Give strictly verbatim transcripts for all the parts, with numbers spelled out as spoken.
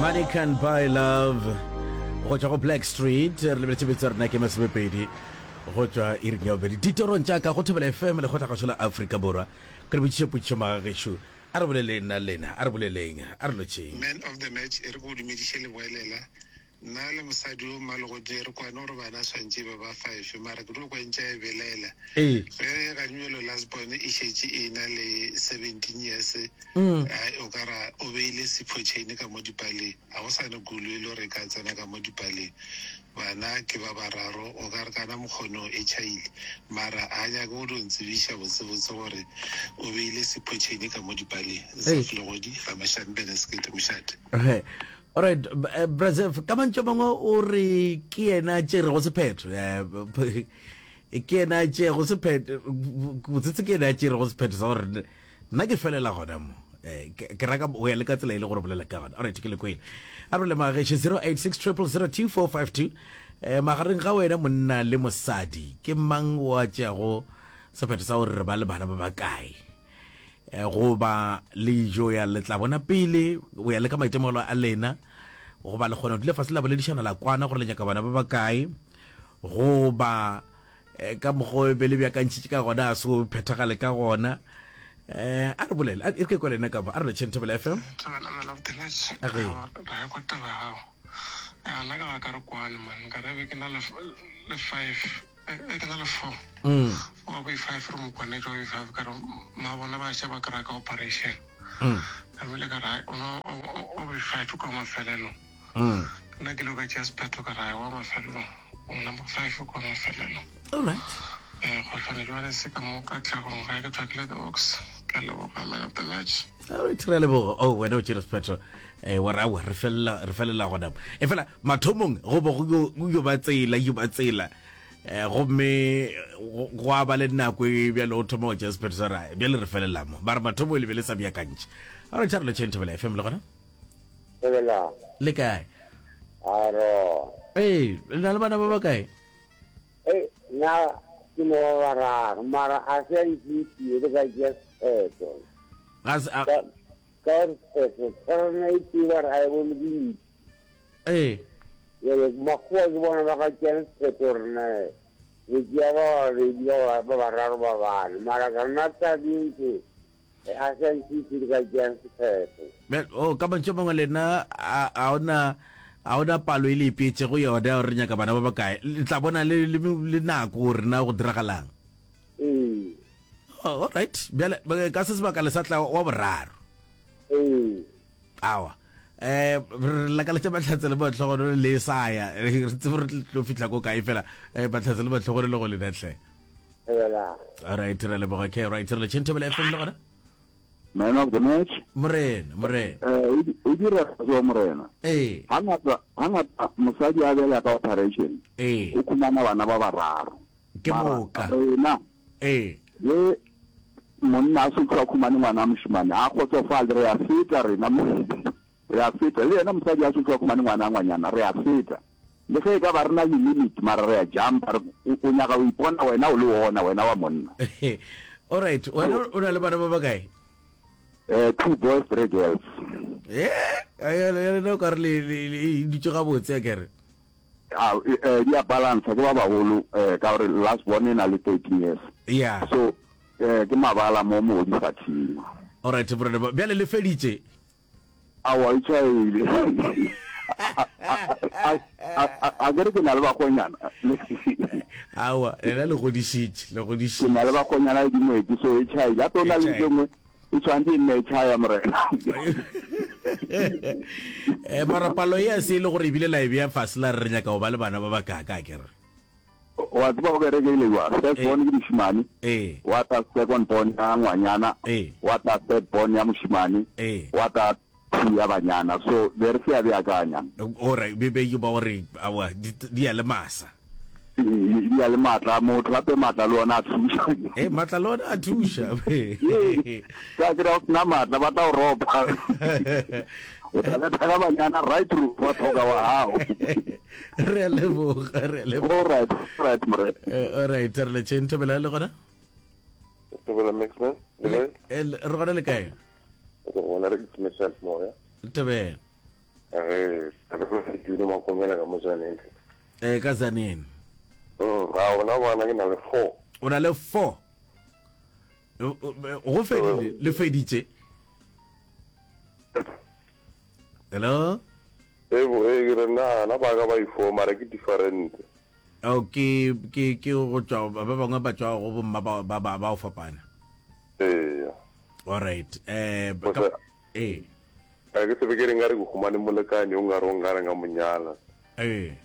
Money can buy love go tšwa go Black Street. Re lebeletše betso rena ke masomepedi go tšwa iring ya bobedi ditorong tša ka go Thobela F M, lekgotlakgašo la Afrika Borwa. Ke re botšiše potšišo magagešo, a re boleleng nna lena, a re boleleng, a re lotšheng. Man of the match, e re ko o dumediše leboelela. Nna le mosadi o mmalogodi re kwane gore bana swantše ba ba five, mara ke dio kwantša e belaela ee ge ganjelo last born e šetše e na le seventeen years. mm. Ai, o ka ra o beile sipho chain ka mo dipaleng, ga go sane kulo e le gore e ka tsena ka mo dipaleng. Bana ke ba bararo, o ka re kana mokgono e tšhaile, mara a nyake go dio ntsebiša botsebotse gore o beile sipho chain ka mo dipaleng. Ee. Zaflegodi ga Mašambene sekete mošate. Okay. Alright, eh, Brazef, ka mantšu a mangwe o re ke yena a tšerego sephetho. Eh, ke yena a tšego sephetho, botsetse ke yena a tšerego sephetho sa gore nna ke felela gona mo. Eh, ke ke raka go ya le ka tsela e le gore bolela ka gona. Alright, ke le kwele. A re le mageshe zero eight six zero zero zero two four five two. Eh, magareng ga wena monna le mosadi, ke mang o a tšeago sephetho sa gore re ba le bana ba bakae? Eh, goba le jo ya le tla bona pele o ya le ka maitemogelo a lena, goba le kgona go dula fase la boledišana la kwana gore le nyaka bana ba bakae, goba eh, ka mokgwa o be le beakantšhitše ka gona a se o phethagale ka gona? um a re bolele, a- e re ke kwa lena ka mo. A re lotšheng Thobela F M. Thobela, man of the match. A ge. Ra ya kwa taba ya gago. Ya, nna ka ba ka re kwane man, ka re be ke na le le five, e ke na le four. Mm, Wa bo five re mo kwanetše wa bo five, ka re ma bona ba še ba kry-a ka operation. mm, Ka bile ka re o no o bo five kwa mafelelong. mm. Nna ke ile ka tšea sephetho ka re wa mafelelong. O number five kwa mafelelong. Alright. Eh, kgohlane jwale se ka mo katlagong ga ke tswakile the ox. Ka leboga, man of the match. Alright, re a leboga. Oh, wena o tšere sephetho eh wa re aowa, re felela re felela gona mo. E fela mathomong go bo go yo- go yo ba tsela yo ba tsela, eh gomme go go a ba le nako e bjale o thoma go tšea sephetho sa ra bjale re felela mo, ba re mathomo le be le sa beakantše. Alright, a re lotšheng Thobela F M le gona. Thobela. Le kae? Aro. Ee, le na le bana ba bakae? Ei, nna ke mo ba bararo, mara a se a ntšhitie le ka tšea sephetho. Ga se a Ka ka gore sephetho tshwarana e tee ba re a e bone ke ntši. Ee. Jale makgowa ke bona ba ka tšeang sephetho gore na re tšea ba babedi, ba ba ba bararo, ba bane, mara ka nna tabeng ke a se a ntšhitie le ka tšeang sephetho. Bjale, oh, ka mantšu a mangwe lena a a ona a ona palo e le ipeetšego yona gore re nyaka bana ba bakae, le tla bona le le le nako gore na go diragalang? Ee. Oh, alright, bjale eh, ka se sebaka le sa tla wa boraro? Ee. Awa, eh re lakaletša mahlatse le matlhogono le sa ya re tsebe re tlo fihla ko kae fela. eh Mahlatse le matlhogono le go lena tle. Thobela. Alright, re leboga. Ke right, re le Thobela F M le gona. Man of the match. Morena, morena. Eh, o di- o dira so morena. Ee. Hangata hangata mosadi a bela ka operation. Ee. O khumana bana ba bararo. Ke Mara moka. rena ee ge monna a sotho a khumane ngwana a mošemane a kgotsofale, re a feta rena mo, re a feta le yena mosadi a sotho a khumane ngwana a ngwanyana, re a feta le ge e ka ba re na le limit, mara re a jumpa re o o nyaka o ipona wena o le ona wena wa monna. Alright, wena o na le bana ba bakae? eh two boys, three girls. Eh ya lena o ka re le le- le e dutše gabotse a kere. Ah, eh, di a balance, ke ba bagolo, eh ka gore last born e na le thirteen years. Ya. So eh ke mabala mo mo di sa thima. Alright, morena, bjale le feditše? Awa, e tšhaile a kere ke na le bakgonyana. Awa, lena le godišitše, le Ke na godišitše. Le bakgonyana le dingwetsi, so e tšhaile gape o na E le tšhaile. tse nngwe e tshwanetse e nne e tšhaya morena. eh mara palo e a se e le gore ebile la e bea fase la re re nyaka go ba le bana ba bakaka a kere? Wa tseba go kereke ile jwa first ee born ke mošemane, ee wa tla second born ya ngwanyana, ee wa tla third born ya mošemane, ee wa tla two ya banyana, so be re se ya beakanya. Ore be be ba gore awa di di ya le masa. Di ya le maatla a motho gape, maatla le ona a thuša. E maatla le ona a thuša. Ee, ka kry-a o sena maatla ba tla o ropa, o tla betha ka banyana right through wa tlhoka wa gago. Re a leboga, re a leboga. All right, all right morena. Eh, alright, re le tšheng Thobela le gona. Thobela Mixman, le le kae? eh, le- re gona, le kae? Re gona, re ke myself moya. Thobela. Ge re ke makomela ka mo Tzaneen. Eh ka Tzaneen. Mm, ga ona bana ke na le four. O na le four. Go fedile, le feditše. Hello? Ebo, e ke re na na ba ka ba i-four mara ke different. Oh, ke ke ke go tšwa ba bangwe ba tšwa go bomma ba ba ba ba o fapana. Ee. All right. Eh eh. A ke tsebe ke re nkare ke humane molekane o nkare o nkare nka mo nyala. Ee.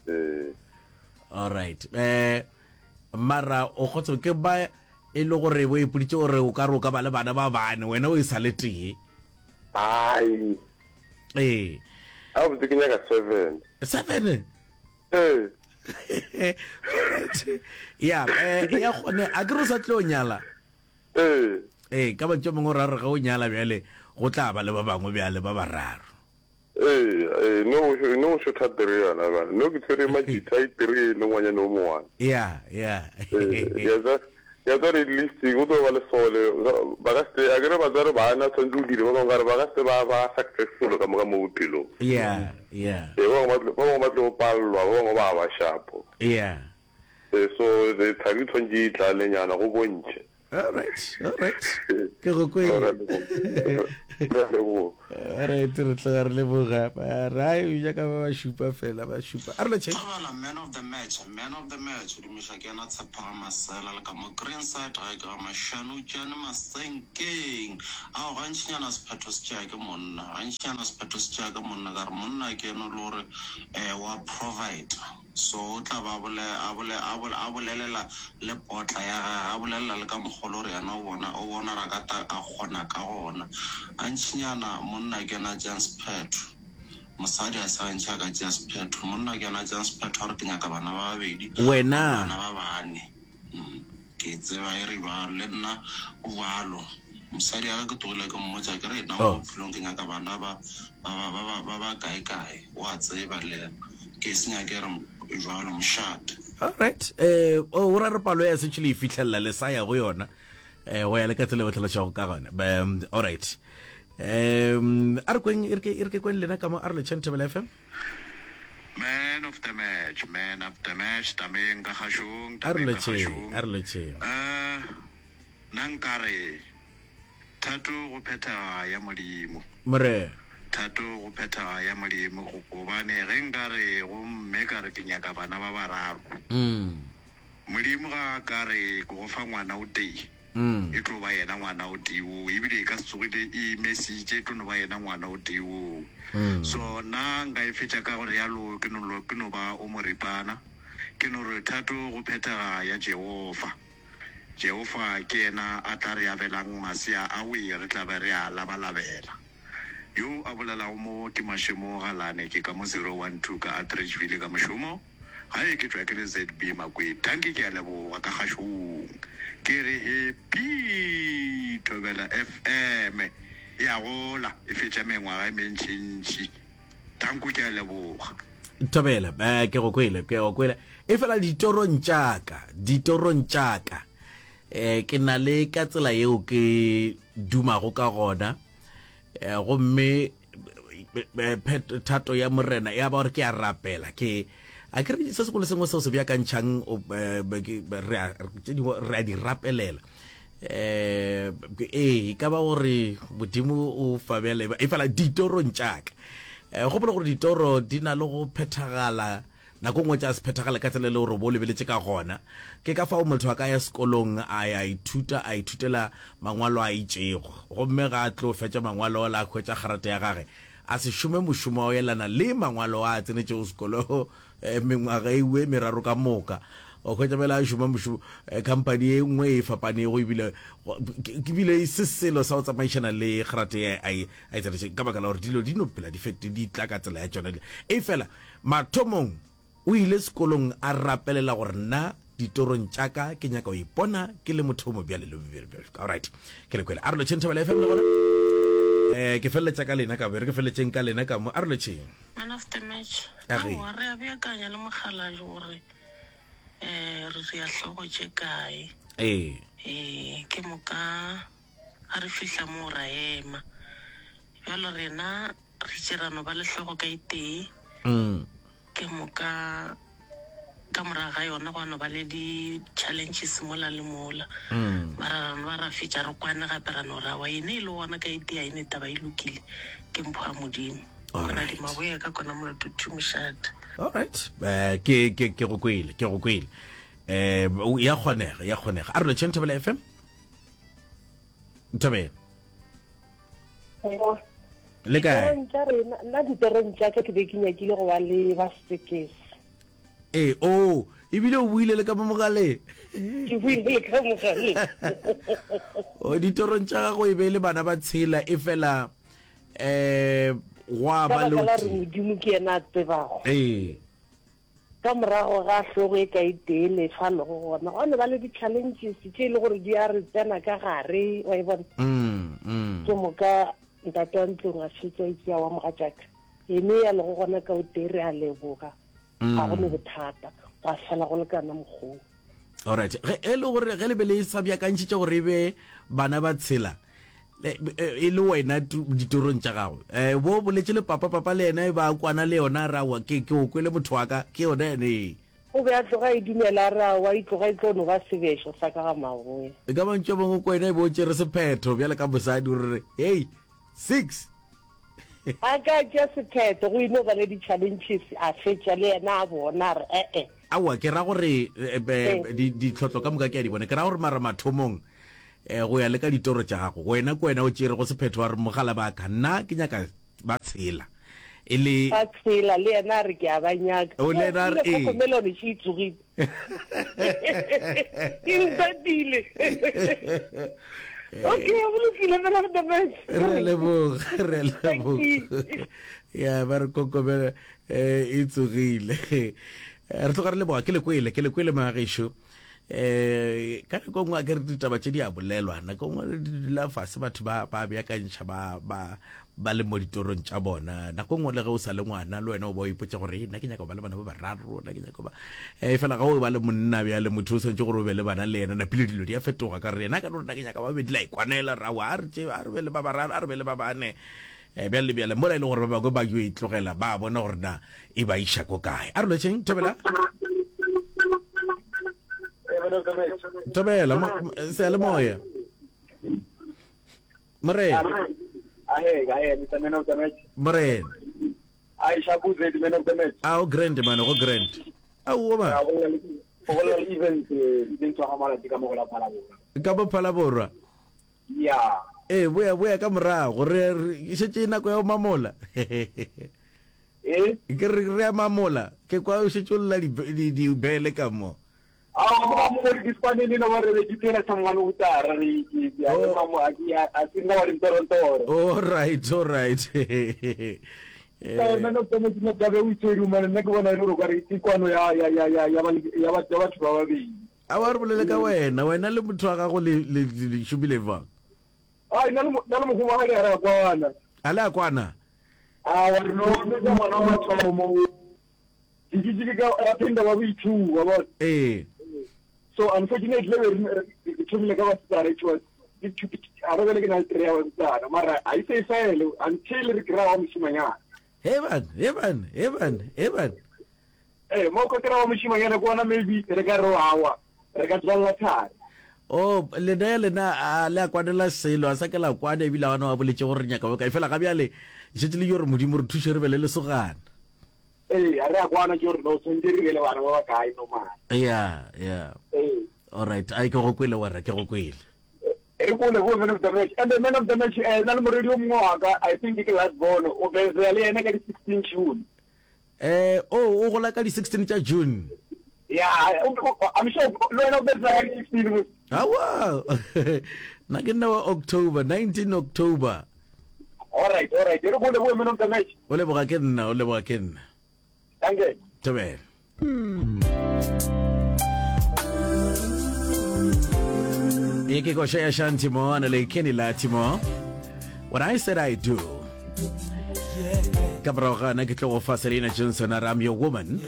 Ee. All right. Eh mara o kgotso ke ba e le gore o ipoditše gore o ka re o ka ba le bana ba bane wena o e sa le tee. Ai. Ee. A botse ke nyaka seven. Seven? Ee. Ya, eh ya gone a ke re o sa tlo nyala. Ee. Ee, ka mantšu a mangwe o ra re ge o nyala bjale go tla ba le ba bangwe bjale ba bararo. Ee, ee, no no shotha three yona bjale. No ke tshwere majita a three le ngwanyana o mongwana. Ya, ya. Ee, ya tsa ya tsa re list go tlo ba le sole ba ka se a ke re batswadi bana tshwanetse o dire ba bangwe ka re ba ka se ba ba successful ka moka mo bophelong. Ya, ya. Ee, ba bangwe ba bangwe ba tlo pallwa, ba bangwe ba ba shapo. Ya. Ee, so thari tshwanetse e tlalenyana go bontšhe. All right, all right. Ke go kwele. All right, re tloga re leboga. Ra ja ka ba ba šupa fela, ba šupa. A re lotšheng. Thobela man of the match, man of the match, dumiša ke yena Tshephang Masela le ka mo Greenside gae ke ga Mashanutšane Masenkeng. Ao gantšinyana sephetho se tšea ke monna, gantšinyana sephetho se tšea ke monna ka re monna ke yena e le gore um wa provide. So o tla ba a bole, a bole, a bole, a bolelela le potla ya gage, a bolelela le ka mokgwa o le gore yena o bona, o bona gore a ka ta, a kgona ka gona. Gantšinyana monna ke yena a tšeang sephetho. Mosadi ga se gantši a ka tšea sephetho. Monna ke yena a tšeang sephetho a re ke nyaka bana ba babedi, Wena. bana ba bane. Mm. Ke tseba e re bjalo, le nna go bjalo. Mosadi ya ka ke tlogile ke mmotša ke re nna mo Oh. bophelong ke nyaka bana ba ba ba ba ba ba ba kae kae. O a tseba le yena. Ke se nyake re jwalo mošate. All right. Eh o ra re palo ya setše le e fihlelela le sa ya go yona. Eh go ya le ka tsela e o hlalošago ka gona. Um, all right. Um a re kweng e re ke e re ke kweng lena ka mo a re letšheng Thobela F M. Man of the match, man of the match, tameng ka kgašong, A re tameng ka letšheng, kgašong. a re letšheng. Eh, nna nkare thato go phethega ya Modimo. Morena. Thato go phethega ya Modimo, go, gobane ge nkare go mme ka re ke nyaka bana ba bararo, Mm. Modimo ga a ka re ke go fa ngwana o tee, Mm. e tlo ba yena ngwana o tee woo, ebile e ka se tsogile e mesitše, e tlo no ba yena ngwana o tee woo. Mm. So nna nka e fetša ka gore yalo ke no, ke no ba o moripana, ke no re thato go phethega ya Jehofa. Jehofa ke yena a tla re abelang masea a we re tla be re a labalabela. Yo a bolelago mo ke Mašemo Galane, ke ka mo zero one two ka Atteridgeville ka mošomo. Gae ke tšwa ke le Z B Makweng. Dankie ke a leboga ka kgašong. Ke re happy Thobela F M e a gola e fetša mengwaga e mentšintši. Danko ke a leboga. Thobela, eh, ke go kwele, ke go kwele. E fela ditorong tša ka, ditorong tša ka, eh, ke na le ka tsela yeo ke dumago ka gona, eh, gomme eh, phet- thato ya Morena ya ba gore ke a rapela, ke a ke re se sengwe le sengwe seo se beakantšhang, o, eh, be- ke- be- re a, tše dingwe re a di rapelela. Eh, ee, e ka ba gore Modimo o fa bjale, e fela ditorong tša ka. Eh, gopola gore ditoro di na le go phethagala nako nngwe tša se phethagale ka tsela e le gore bo lebeletše ka gona. Ke ka fao motho a ka ya sekolong a ya ithuta, a ithutela mangwalo a itšego, gomme ga a tlo fetša mangwalo a hwetša kgarate ya gage, a se šome mošomo wa go elana le mangwalo a a tsenetšego sekolo eh, mengwaga e e meraro ka moka. O hwetša bjale a šoma mošomo eh, company e nngwe e fapanego, ebile ke bile e se selo sa go tsamaišana le kgarate ye a e a e tsenetšeng, ka baka la gore dilo di no phela di fete di tla ka tsela ya tšona. E fela mathomong o ile sekolong a rapelela gore nna ditorong tša ka ke nyaka go ipona ke le motho o mobjale le bjale bjale. All right, ke le kwele. A re lotšheng Thobela F M le gona. Eh, ke feleletša ka lena ka bo, re ke feletšeng ka lena ka mo. A re lotšheng. Man of the match. A re. Aowa, re a beakanya le mokgalabje gore eh re ria hlogo tše kae. Ee. Eh, ke moka a re fihla mo ra ema. Bjalo rena Re itše ra no ba le hlogo ka e tee. Mm. Ke moka ka morago ga yona gwa no ba le di-challenges mola le mola. Mm. Mara ra no ba ra fetša re kwane gape ra no ra wa ene e le gona ka e tee a ene taba e lokile ke mpho ya Modimo. Kona Alright. di maboya ka kona molato two mošate. Alright. Eh, ke ke ke go kwele, ke go kwele. Eh, ya kgonega, ya kgonega. A re lotšheng Thobela F M. Thobela. Le kae? Ditorong tša rena, nna ditorong tša ka ke be ke nyakile go ba le ba sekese. Ee, oh, ebile o buile le ka mo mogaleng. Ke buile le ka mogaleng. O ditorong tša gago e be e le bana ba tshela e fela eh gwa Ka ba le baka la o gore tee. Modimo ke yena a tsebago. Ee. Ka morago ga hlogo e ka e tee le fa lego gona, gwa no ba le di-challenges tše e le gore di a re tsena ka gare, wa e bona. Mm, mm. Ke moka ntate wa ntlong a fetša e tšea wa mogatšaka. Ene ya lego gona ka o tee re a leboga. Ga go ne bothata, gwa fela go lekana mokgong. Alright. Ge e le gore ge le be le sa beakantšhitše gore e be bana ba tshela, e le wena ditorong tša gago, eh bo boletše le papa, papa le yena e ba kwana le yona ra wa ke ke o kwele motho wa ka, ke yona ene. O be a tloga e dumela ra wa e tloga e tlo no ba sebešo sa ka ga maboya. E ka mantšu a mangwe ko wena e bo tšere sephetho bjale ka mosadi o re hey six. A ka tšea sephetho go ino ba le di-challenges a fetša le yena a bona re eh eh. Aowa ke ra gore ditlhotlo ka moka ke a di bona, ke ra gore mara mathomong eh go ya le ka ditoro tša gago wena ke wena o tšere go sephetho wa re mogala ba ka nna ke nyaka ba tshela e le ba tshela le yena a re ke a ba nyaka. O le yena a re ee. Kokomelone še e tsogile. E ntatile. Okay, go lokile fela go the best. Re leboga, re leboga. Ya ba re kokomela e tsogile. Re tloga re leboga ke le kwele, ke le kwele magešo. Eh ka nako nngwe ke re ditaba tše di a bolelwa, nako nngwe di dula fase batho ba ba beakantšha ba ba ba le mo ditorong tša bona. Nako nngwe le ge o sa le ngwana le wena o ba o ipotša gore nna ke nyaka go ba le bana ba bararo, nna ke nyaka ba eh fela ga o ba le monna bjale motho o swanetše gore o be le bana le yena, napile dilo di a fetoga ka re yena ka no nna ke nyaka ba bedi la ikwanela ra wa a re tše a re be le ba bararo a re be le ba bane. Eh bjale le bjale mola e le gore ba bangwe ba yo e tlogela ba bona gore na e ba iša ko kae. A re lotšheng Thobela. Thobela seyalemoya. Morena. Ahe, ahe, Mister Man of the Match. Morena. Ai, Shabuze, the man of the match. Ao grand man, go grand. Ao ba. Go bolela le event, event wa ga ka mo go la Phalaborwa. Ka mo Phalaborwa. Yeah. Eh boya boya ka morago re šetše nako ya go mamola. Eh? Ke re re a mamola, ke kwa o šetše o lla di di bele ka mo. Ao mo mo re dispanele no re re dipela sangwane o tara re ke ya mamo a ke a se nna wa dintorontoro. All right, all right. Eh nna no tsene ke ka be o itshwere mane nna ke bona e le gore re ke kwano ya ya ya ya ya ba ya ba batho ba babedi. A wa re bolele ka wena, wena le motho wa gago le le le šomile bjang? Ai nna le nna le mogoma ga re a kwana. A le a kwana? A wa re no le ka ngwana wa mathomo. Ke ke ka rapenda wa boithuwa wa bona. Eh. So unfortunately we thomile ka basetsana it was a re bele ke na le three ya basetsana mara a ise e fele until re kry-a wa mošimanyana. He ban, he ban, he ban, he ban. Eh mo ka kry-a wa mošimanyana ke ona maybe re ka re awa re ka tswalela thari. Oh lena ya lena a le a kwanela selo a sa ke la kwana ebile a wa boletše gore re nyaka bokae fela ga bjale šetše le yo re Modimo re thuše re be le lesogana. Ee, a re a kwana ke gore no tshwanetse re be le bana ba ba kae no mara. Yeah, yeah. Ee. All right, ai ke go kwele wena, ke go kwele. Re kole go man of the match. And the man of the match eh na le moredi o mongwe wa ka, I think ke last born, o bezea le yena ka di sixteen June. Eh, oh, o gola ka di sixteen tša June. Yeah, I'm sure le wena o bezea ka di sixteen mo. Awa. Nna ke nna wa October, nineteen October. All right, all right. Re kole go man of the match. O leboga ke nna, o leboga ke nna. Thank you. Thobela. Ye ke koša ya Shanti Mo ana le Kenny Lattimore. When I said I do. Ka morago ga na ke tlo go fa Selena Johnson a re I'm your woman.